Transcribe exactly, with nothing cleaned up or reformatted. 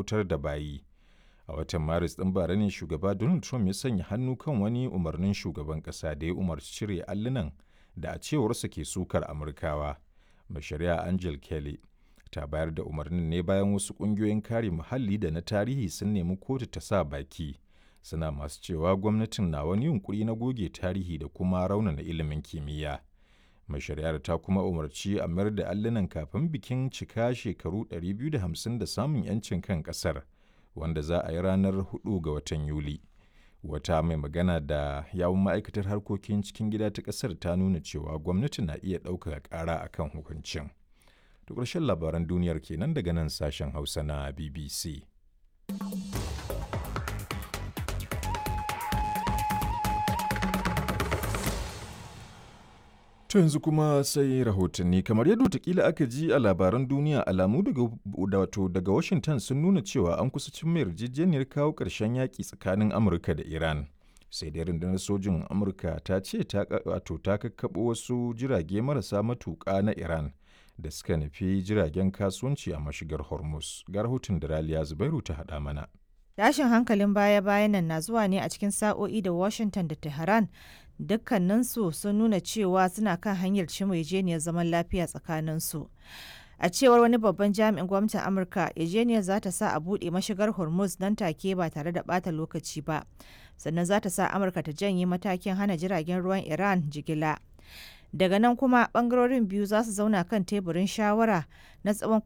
bautar da bayi. A watan Maris ɗin bara ne Shugaba Donald Trump ya sanya hannu kan wani umarnin shugaban ƙasa da ya umarci cire allunan da a cewarsa ke sukar Amurkawa. Mai Shari'a Angel Kelly ta bayar da umarnin ne bayan wasu ƙungiyoyin kare muhalli da na tarihi sun nemi kotu ta sa baki, suna masu cewa gwamnatin na wani yunƙuri na goge tarihi da kuma raunana ilimin kimiyya. Mai shari'ar ta kuma umarci a mayar da allunan kafin bikin cika shekaru ɗari biyu da hamsin da samun 'yancin kan ƙasar, wanda za a yi ranar huɗu ga watan Yuli. Wata mai magana da yawun ma'aikatar harkokin cikin gida ta ƙasar ta nuna cewa gwamnati na iya ɗaukaka ƙara a kan hukuncin. To ƙarshen labaran duniyar kenan daga nan sashen Hausa na B B C. To yanzu kuma sai rahotanni. Kamar yadda watakila aka ji a labaran duniya, alamu daga wato daga Washington sun nuna cewa an kusa cimma yarjejeniyar kawo ƙarshen yaƙi tsakanin Amurka da Iran. Sai dai rundunar sojin Amurka ta ce ta wato ta kakkaɓo wasu jirage marasa matuƙa na Iran da suka nufi jiragen kasuwanci a mashigar Hormuz. Ga rahoton da Raliya Zubairu ta haɗa mana. Tashin hankalin baya-bayan nan na zuwa ne a cikin sa'o'i da Washington da Tehran dukkaninsu sun nuna cewa suna kan hanyar cimma yarjejeniyar zaman lafiya tsakaninsu. A cewar wani babban jami'in gwamnatin Amurka, yarjejeniyar za ta sa a buɗe mashigar Hormuz nan take ba tare da ɓata lokaci ba, sannan za ta sa Amurka ta janye matakin hana jiragen ruwan Iran jigila. Daga nan kuma bangarorin biyu za su zauna kan teburin shawara na tsawon